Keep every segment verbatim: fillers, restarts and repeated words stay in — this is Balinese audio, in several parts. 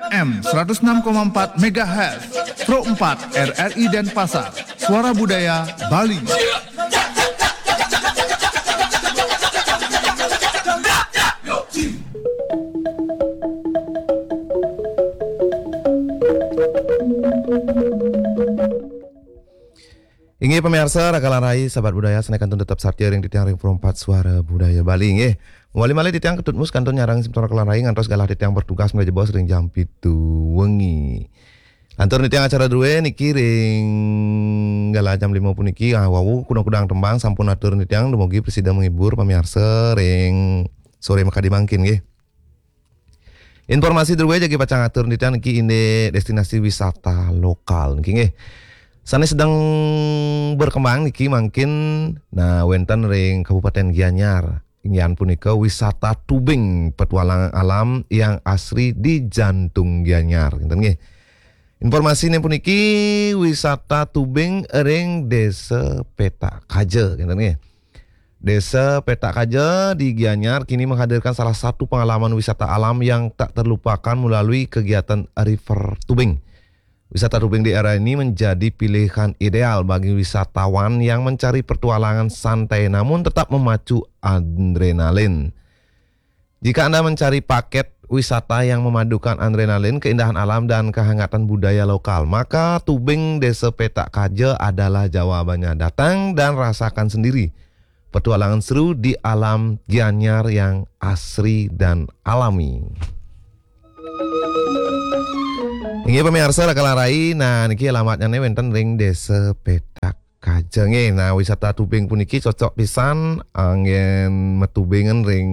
M seratus enam koma empat megahertz, Pro empat R R I Denpasar, Suara Budaya Bali. Inggih pamiarsa, raka lan rai, sahabat budaya, sané kantun tetep satia ring titiang ring Pro empat Suara Budaya Bali, nggih. Mawali malih titiang Ketut Mus kantun nyarengin semeton raka lan rai ngantos galah titiang bertugas malih jebos ring jam pitu wengi. Lantur titiang acara drué niki ring galah jam lima puniki, ah, wau kudang-kudang tembang sampun atur titiang dumugi prasida menghibur pamiarsa ring soré makadi mangkin, nggih. Informasi drué jagi pacang atur titiang niki indik destinasi wisata lokal niki, nggih. Sané sedeng berkembang niki mangkin, nah, wénten ring Kabupaten Gianyar. Inggih punika wisata tubing, petualangan alam yang asri di jantung Gianyar, ngéten nggih. Informasiné puniki wisata tubing ring Désa Petak Kaja, ngéten nggih. Désa Petak Kaja di Gianyar kini menghadirkan salah satu pengalaman wisata alam yang tak terlupakan melalui kegiatan river tubing. Wisata tubing di era ini menjadi pilihan ideal bagi wisatawan yang mencari petualangan santai namun tetap memacu adrenalin. Jika Anda mencari paket wisata yang memadukan adrenalin, keindahan alam, dan kehangatan budaya lokal, maka tubing Désa Petak Kaja adalah jawabannya. Datang dan rasakan sendiri petualangan seru di alam Gianyar yang asri dan alami. Inggih pamiarsa, raka lan rai, nah, niki alamatnyané wénten ring Désa Petak Kaja, nggih. Nah, wisata tubing puniki cocok pisan anggén matubingan ring,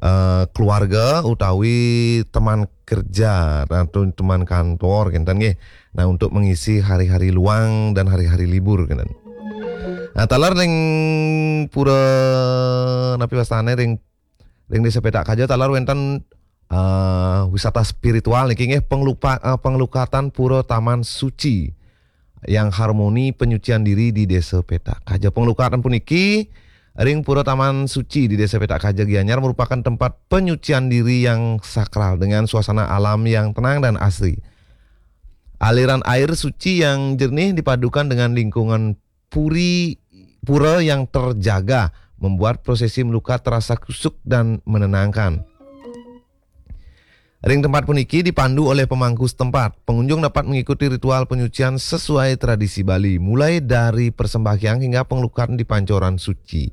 eh, keluarga utawi teman kerja atau teman kantor, ngéten nggih. Nah, untuk mengisi hari-hari luang dan hari-hari libur, ngéten. Nah, taler ring pura, napi wastané, ring, ring Désa Petak Kaja taler wénten, eh, wisata spiritual niki, nggih, penglupa-, eh, penglukatan Pura Taman Suci yang harmoni penyucian diri di Désa Petak Kaja. Penglukatan puniki ring Pura Taman Suci di Désa Petak Kaja Gianyar merupakan tempat penyucian diri yang sakral dengan suasana alam yang tenang dan asri. Aliran air suci yang jernih dipadukan dengan lingkungan puri, pura yang terjaga membuat prosesi melukat terasa kusuk dan menenangkan. Ring tempat puniki dipandu oleh pemangku setempat. Pengunjung dapat mengikuti ritual penyucian sesuai tradisi Bali, mulai dari persembahyangan hingga penglukatan di pancoran suci.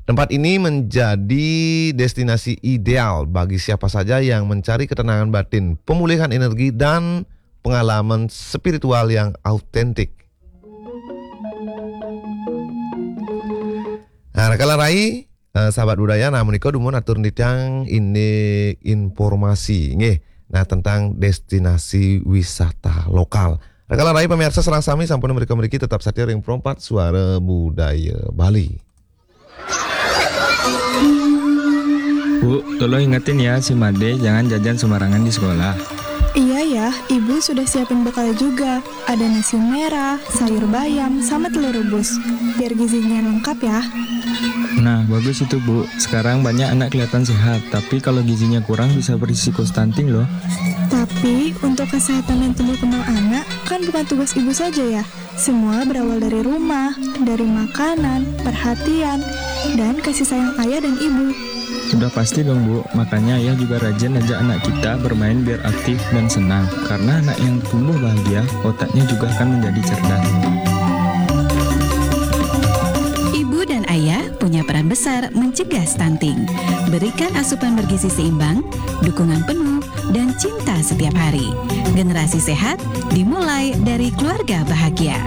Tempat ini menjadi destinasi ideal bagi siapa saja yang mencari ketenangan batin, pemulihan energi, dan pengalaman spiritual yang autentik. Nah, raka lan rai, eh, sahabat budaya, nah, menika dumun atur titiang indik informasi, nggih. Nah, tentang destinasi wisata lokal. Raka lan rai pamiarsa sareng sami sampun mrika mriki tetap satia ring Pro empat Suara Budaya Bali. Bu, tolong ingetin ya si Made jangan jajan sembarangan di sekolah. Iya ya, ibu sudah siapin bekal juga. Ada nasi merah, sayur bayam, sama telur rebus. Biar gizinya lengkap ya. Nah, bagus itu, Bu. Sekarang banyak anak kelihatan sehat, tapi kalau gizinya kurang bisa berisiko stunting loh. Tapi untuk kesehatan dan tumbuh kembang anak kan bukan tugas ibu saja ya. Semua berawal dari rumah, dari makanan, perhatian, dan kasih sayang ayah dan ibu. Sudah pasti dong, Bu. Makanya ayah juga rajin ajak anak kita bermain biar aktif dan senang. Karena anak yang tumbuh bahagia, otaknya juga akan menjadi cerdas. Ibu dan ayah punya peran besar mencegah stunting. Berikan asupan bergizi seimbang, dukungan penuh, dan cinta setiap hari. Generasi sehat dimulai dari keluarga bahagia.